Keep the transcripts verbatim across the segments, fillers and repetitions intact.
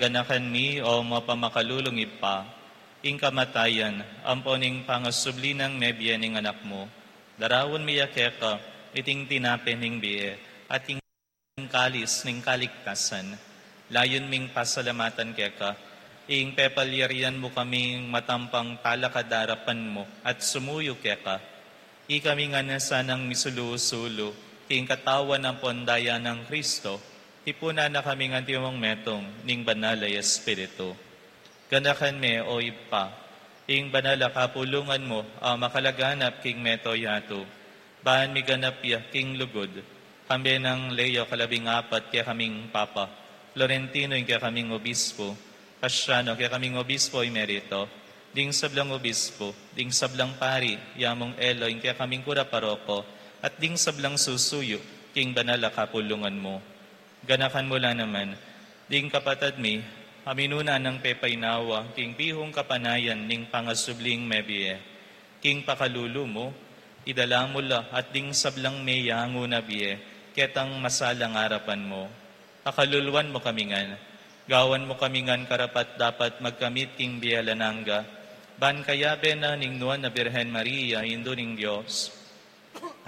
Ganakan mi, o mapamakalulung Ibpa, ing kamatayan ampon ing pangasubli nang mebie ning Anak mu. Daraun mi ya keka iting tinape ning bie at ing kalis ning kaligtasan. Layun ming pasalamatan keka ing pepalyarian mu kaming matampang talakad arapan mu at sumuyu keka. Ikami ngan na sanang misulu-sulu king katawan ampon daya nang Kristo, tipunan na kami ngan timong metung ning Banal a Espiritu. Ganakan me, o Ibpa, ing banal a kapulungan mu a makalaganap king mabilug a yatu, ban miganap ya king lugud, kambe nang Leo kalabing apat kekaming Papa, Florentino ing kekaming Obispo, Cassiano kekaming Obispo Emerito, ding sablang obispo, ding sablang pari, ya mung Elo ing kekaming kura paroko, at ding sablang susuyu king banal a kapulungan mu. Ganakan mu la naman ding kapatad mi a minuna nang pepainawa king bihung kapanayan ning pangasubling mebie. King pakalulu mu, idala mu la at ding sablang meyangu na bie ketang masalang arapan mu. Pakaluluan mu kami ngan, gawan mu kami ngan karapat-dapat magkamit king bie alang angga, ban kayabe na ning Nuan a Birhen Maria, Indu ning Dios,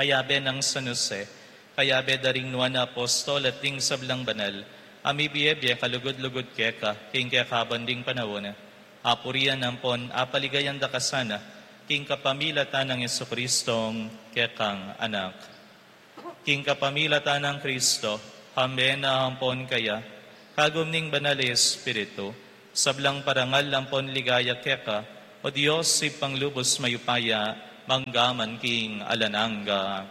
kayabe nang San Jose, kayabe da ring nuan a apostol at ding sablang banal a mibie-bie kalugud-lugud keka king kekaban ding panaun, apurian ampon apaligayan da ka sana king kapamilatan nang Jesucristong kekang Anak. King kapamilatan nang Kristo, kambe na ampon kaya, kagum ning Banal a Espiritu, sablang parangal ampon ligaya keka, o Dios, Ibpang lubus mayupaya, mangga man king alang angga.